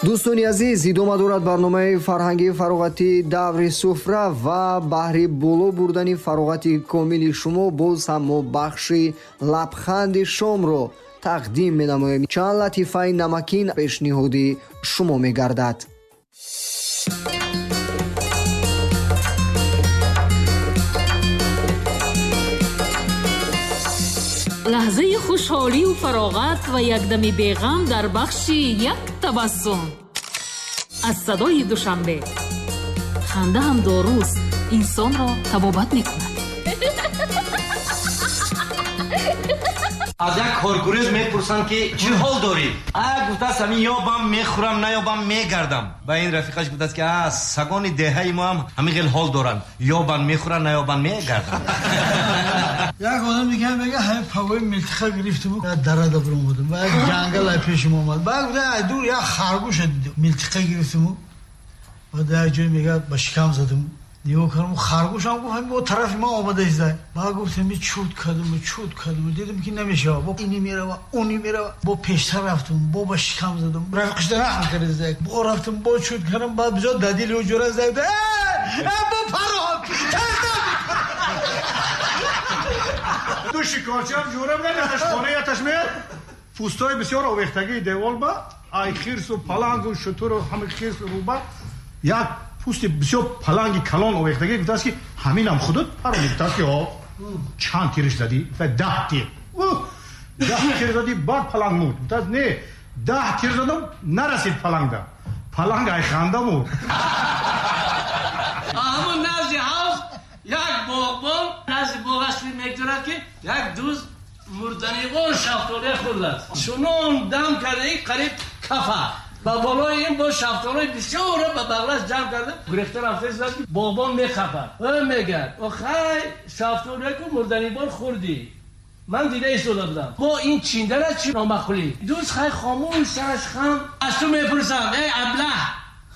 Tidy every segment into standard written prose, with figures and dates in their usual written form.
Дӯстони азиз, идома дорад барномаи фарҳангии фароғатии даври суфра ва баҳри боло бурдани фароғати комили шумо боз ҳам мо бахши лабханди шомро тақдим менамоем. Чанд латифаи намакин пешниҳоди шумо мегардад. Лаҳзаи хушҳолию фароғат ва якдами беғам дар бахши як табассум аз садои Душанбе. Ханда ҳам доруст, инсонро табобат мекунад. Аз як коргурез мепурсанд, ки чӣ ҳол дорӣ? А гуфтааст, ҳамин ёбам мехӯрам, наёбам мегардам. Ба ин рафиқаш гуфтааст, ки а сагони деҳаи мо ҳам ҳамин хел ҳол доранд, ёбанд мехӯранд, наёбанд мегарданд. Як одам дига мега, ҳамин пагои милтиқа гирифтиму дарада биромадам, ба як ҷангал ай пешим омад. Ба гуфта, ай дур як харгӯша дидам, милтиқа гирифтиму ба дар як ҷой мега ба шикам задам, нигоҳ кардам, харгӯшам гуфт, ҳамин бо тарафи ман омада изда. Ба гуфтам, чуд кардам, чуд кардам, дидам ки намешава, бо ини мерава, уни мерава, бо пештар рафтам, бо ба шикам задам, рафиқашда раҳм карда изда, бо рафтам, бо чуд кардам, баъд бисёр дадили ӯ ҷура зада, бо парон Ду шикорчиам ҷура буданд, яташ хона, яташ меяд. Пӯстои бисёр овехтагии девол ба ай хирсу палангу шутуру ҳами хирсу руба як пӯсти бисёр паланги калон овехтагӣ. Гуфтааст, ки ҳаминам худат парони? Гуфтааст, ки ҳо. Чанд тириш задӣ? 10 тир. 10 тир задӣ, баъд паланг мурд? Гуфтааст, не, 10 тир задам, нарасид палангда, паланг ай ханда мурд. Ҳамун назди ҳавз як боғбон назди боғаш мегузарад, ки як дузд мурданивор шафтолия хӯрдааст, чунон дам карда, қариб кафа. Ба болои ин бо шафтолои бисёрро ба бағлаш ҷамъ карда гурехта рафта истад, ки боғбон мехапад. Ӯ мегӯяд, охай, шафтолия ку мурданивор хӯрдӣ, ман дида истода будам, бо ин чиндара чӣ номаъқулӣ? Дузд хай хомӯш, сараш хам. Аз ту мепурсам, эй аблаҳ,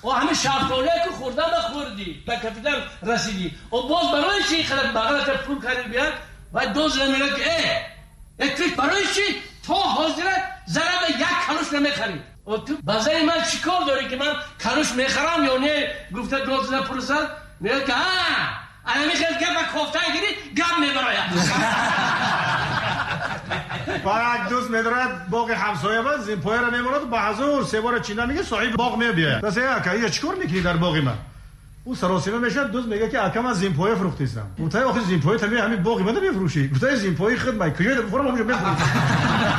о ҳамин шафтолия ку хӯрдан ба хӯрдӣ, ба капитан расидӣ, о боз барои чӣ қадар бағлата пур кардӣ? Биёд ва дузд мегӯяд, ки э ту барои чӣ то ҳозира зараба як калуш намехарӣ? О ту ба зани ман чӣ кор дорӣ, ки ман калуш мехарам ё не? Гуфта дузд пурсад. Мегӯяд, ки а ҳамин хел гапа кофтан гирӣ, гап мебарояд. Ба як дӯст медорад боғи ҳамсоя, ба зимпояро мемонад, ба ҳазур себора чинда мега, соҳиби боғ мебиёяд. Даса, ака, ия чӣ кор мекунӣ дар боғи ман? Ӯ саросима мешавад. Дӯст мега, ки ака, ман зимпоя фурӯхтистам. Гуфтаи, охи, зимпоя тами ҳамин боғи мана мефурӯшӣ? Гуфтаи, зимпои худ май куҷоя бифурам, ҳамҷо мефурӯшам.